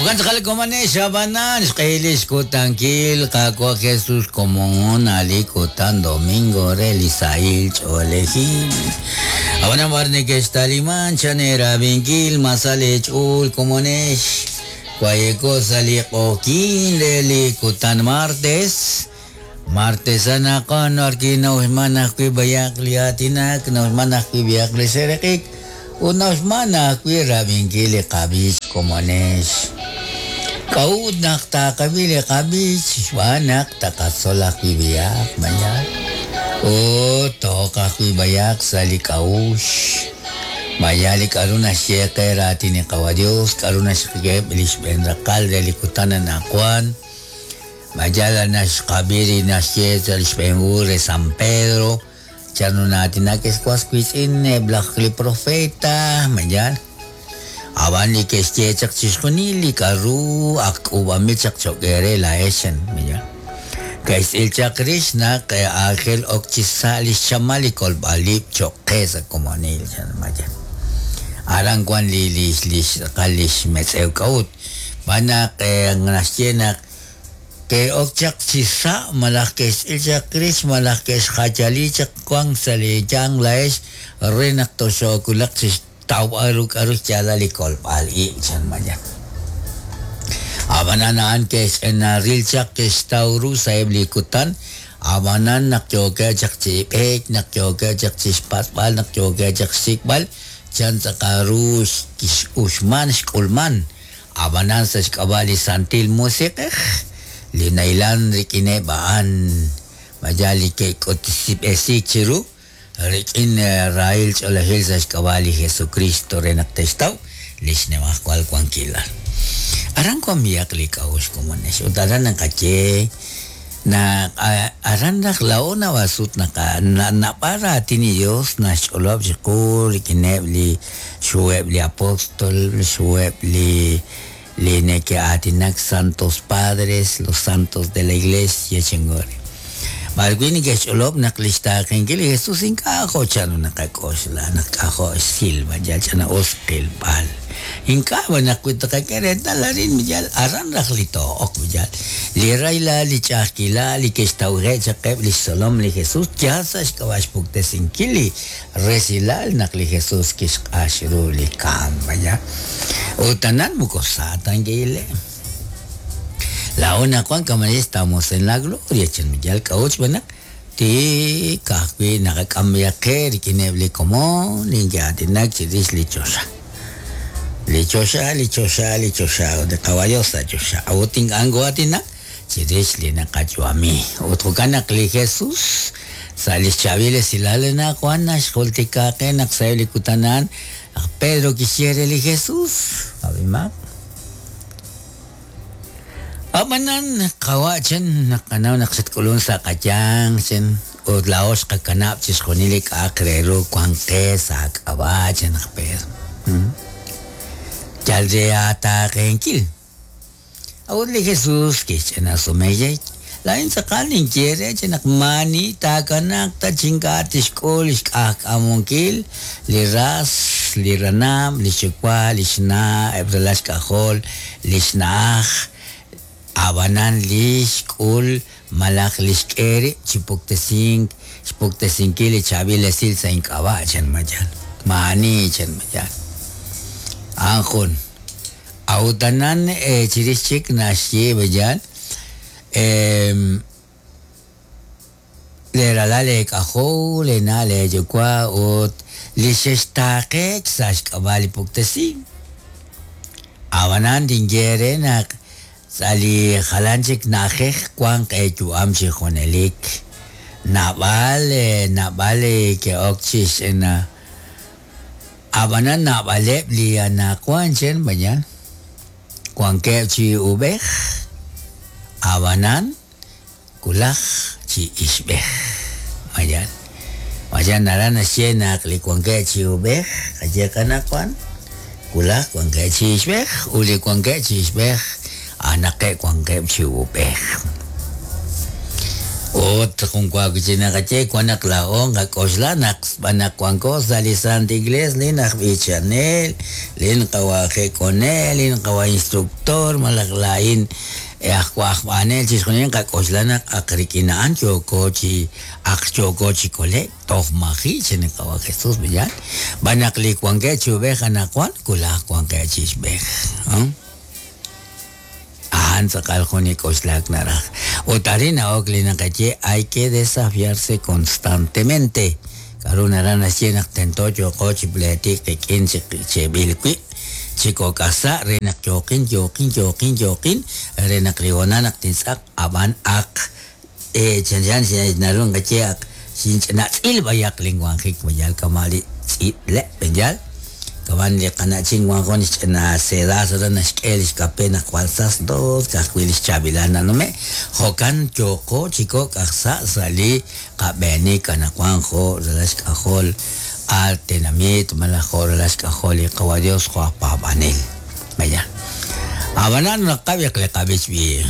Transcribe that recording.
Jo'kan tz'aqal komonex ab'anan xq'ehil li xkutankil Qaawa' Jesus komon a' li kutan domingo re li sahil ch'oolejil. Ab'anan b'ar nekextaliman chan eerab'inkil ma sa leech'ool komonex wayeko sa' li q'oqyink re li kutan martes. Martes anaqwan b'arwi' na'uxman ajwi' b'ayaq li aatinak, na'uxman ajwi' b'ayaq li seeraq'ik ut na'uxman ajwi' rab'inkil li qab'ich komonex. K'a'ut naq taqab'i li qab'ich? Xb'aan naq taqatzol ajwi' b'ayaq, mayal, ut to'oq ajwi' b'ayaq sa' li k'a'uxl. Mayal li k'a'ru naxye qe raatin li Qawa' Dios, k'a'ru naxk'e li xb'een raqal re li kutan anaqwan. Ma yal naxqab'i li naxye sa' li xb'een hu re San Pedro, chanru na'aatinak ex was wiitz'in eb' laj li profeta, ma yaal? Ab'an li ke'xye chaq chixjunil li k'a'ru ak k'uub'anb'il chaq cho'q eere laa'ex, chan, ma yaal? Ke'xtz'il chaq rix naq aajel ok chi sa' li xchamal li kolb'al-ib' cho'q qe sa' komonil, chan, ma yaal? Aran wan li li li xtz'aqal li xmetz'ew k'a'ut, xb'aan naq naxye naq Ke'ok chaq chi sa' malaj ke'xtz'il chaq rix malaj ke'xjayali chaq wank sa' li yanq laa'ex re naq toxoowulaq chi xtawb'al ru k'aru xyaalal li kolb'al ib', chan Mayan. Ab'anan a'an ke'xch'inaril chaq ke'xtaw ru sa'eb' li kutan, ab'anan naq yookeb' chaq chi b'eek, naq yookeb' chaq chi xpatz'b'al, naq yookeb' chaq xsik'b'al chan tz'aqal ru x'uxman xk'ulman. Ab'anan sa' xk'ab'a' li Santil Musiq'ej li nahilan rik'ineb' a'an, ma yaal li ke'k'utb'esiik chiru rik'in rahil ch'oolejil sa' xk'ab'a' li Jesukristo re naq te'xtaw li xnimajwal wankilal. Aran wank b'ihaq li k'a'uxl komonex ut aran naqaye Naq aran raj laa'o naab'al sut naab'al raatin li Yos naxch'olob' chiqu rik'ineb' li xhuheb' li apóstol, xhuheb' li li neke'aatinak santos padres, los santos de la iglesia chengori. B'arwi' neke'xch'olob' naq li xtaaqenkil li Jesús ink'a' jo' chanru naqak'oxla naq k'ajo' xsilb'al, yal ch'ina'us qilb'al. Ink'a' b'an naq wi tqak'e reetal arin yal aran raj li too'ok yal. Li rahilal, li ch'a'ajkilal li ke'xtawje' chaq eb' li xtzolom li Jesús yal sa' xk'ab'a' xpuktesinkil li resilal naq li Jesús kixq'ax ru li kamk. Ut anan moko sa ta nke'ile'. Laa'o naq wank kama' estamos en la gloria chan yal k'a'ut xb'aan naq Tik ka'ajwi' naqak'am b'ihaq qe rik'ineb' li komon li neke'aatinak chirix li choxa. Li choxa, li choxa, li choxa, ut li Qawa' Dios sa' choxa. A'ut ink'a' nokoo'aatinak chirix li naqayu'ami. Ut jo'kan naq li Jesus, sa' li xchaab'il esilal li anaqwan naxjultika qe naq sa'eb' li kutan a'an, laj Pedro kixye re li Jesus, Ab'imaq. Ab'anan, qawa' chan, naqanaw naq xatk'ulunk sa' qayanq, chan, ut laa'o xqakanab' chixjunil li k'a'aq re ru wank qe sa' aak'ab'a', chan laj Pedro. Yal re aataaqenkil. A'ut li Jesús kixch'ina sume, Laa'in tz'aqal ninye eere chi naq maa'ani taakanaaq ta chi ink'a' tixk'ul li xk'ajk'amunkil li ras, li ranab', li xyuwa', li xna', eb' ralal xk'ajol, li xna'aj, ab'anan li xk'ul malaj li xk'e rib' chi puktesink, xpuktesinkil li chaab'il esil sa' ink'ab'a', chan Mayal. Maa'ani, chan Mayal. A'an jun. A'ut anan chirix chik naxye Beyal, Leeralal eek'ajol, leena' leeyuwa' ut li xextaaqeek sa' xk'ab'a' li puktesink. Ab'anan tinye eere naq sa' li jalan chik na'ajej wanq eeyu'am chi junelik. Naab'al naab'al ke'ok chi xch'ina. Ab'anan naab'aleb' li anaqwan chen mañan wankeb' chi uub'ej, ab'anan wulaj chi ixb'ej. Mañan mañan naraj naxye naq li wankeb' chi uub'ej qaye qanaqwan wulaj wankeb' chi ixb'ej ut li wankeb' chi ixb'ej a'anaqeb' wankeb' chi uub'ej. Ut jun wa wi' chik naqaye wan naq laa'o nqak'oxla naq xb'aan naq wanko sa' li Santa Iglesia lin aj b'ichanel, lin qawa' jek'onel, lin qawa' instructor malaj laa'in aj wajb'anel chixjunil nqak'oxla naq ak rik'in a'an yooko chi ak yooko chi kole'k toj maji' chan li qawa' Jesús b'iyal xb'aan naq li wankeb' chi ub'ej anaqwan wulaj wankeb' chi ixb'ej. A'an tz'aqal jun li k'oxlak naraj. Ut arin na'ok li naqaye hay que desafiarse constantemente. K'a'ru naraj naxye naq tento yooqo chi pleetik qik'in chi cheb'il wib', chi kok' aj sa' re naq yooqin, yooqin, yooqin, yooqin, re naq li hoonal naq tintz'aq ab'an ak chanchan naru nqaye ak xinch'ina tz'il b'ayaq linwanjik mayal kama' li tz'iib'leb' b'eyal. Kaman li qana'chin wan jun xch'ina sedazo re naxk'e li xkape naq jwal sastos ka'ajwi' li xchaab'ilal nanume'. Jo'kan yooqo chi kok' aj sa' sa' li qab'eenik anaqwan jo' ralal xk'ajol al tenamit malaj jo' ralal xk'ajol li qawa' Dios jo' aj paab'anel. Vaya. Ab'anan naqab'i li qab'ich b'i.